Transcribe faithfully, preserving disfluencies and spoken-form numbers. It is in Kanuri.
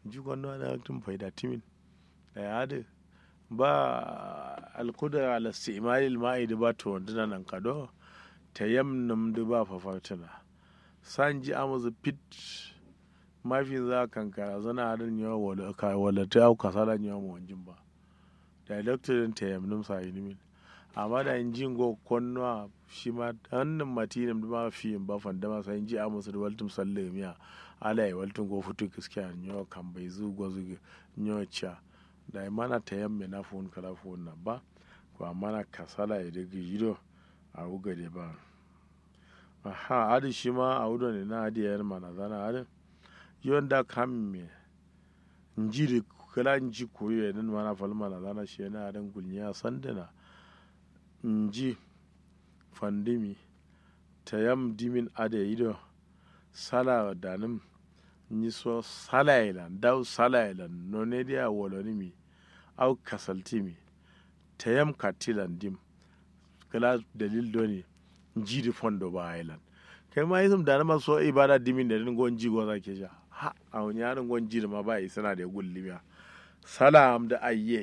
Nji konno adǝ haktǝm faida tǝmin. Dayi adǝ ba alkudura ala simalil ma'i dǝ ba towandǝna nankado. Tayam nǝm dǝ ba fafaktǝna. Sa nji amǝsǝ fit. Mafinza kankarazana adǝn nyo wala ka wala tǝ au kasala nyo mowonjin ba. Dayi loktu dǝn tayam nǝm sayinǝmin. Amma dayi nji ngo konnoa shima hannǝm matiyi nǝm dǝma fiyin ba fandama sai nji amǝsǝ dǝ waltǝm sallǝgǝmiya. Alaye waltǝ ngo futu kǝskiya nyo kambaizu gozǝgǝ. Nyo ca. Dayi mana tayam me na fuwun kǝla fuwunna ba. Kwa mana kasalaye dǝ gǝjido. Awu gade ba. Aha adǝ shima awu done na adǝ yayin manazana adǝ. Yo nda kamme. Nji dǝ kǝla nji kuruye dǝn mana fal manazana shiyena adǝn gulnyiya sandǝna. Nji fandǝmi. Tayam dimin adǝ yayi do. Sala danǝm. Nyiso salayelan dawu salayelan none diya walonǝmi. Au kasaltǝmi. Tayam kattilan dim. Kǝla dalil done. Nji dǝ fondo ba ailan. Kaima isǝm danǝma so ibada dimin ne dǝn ngo nji goza kesha. Ha awo nya dǝ ngo nji dǝma ba isǝna de gullimiya. Sala am dǝ ayye.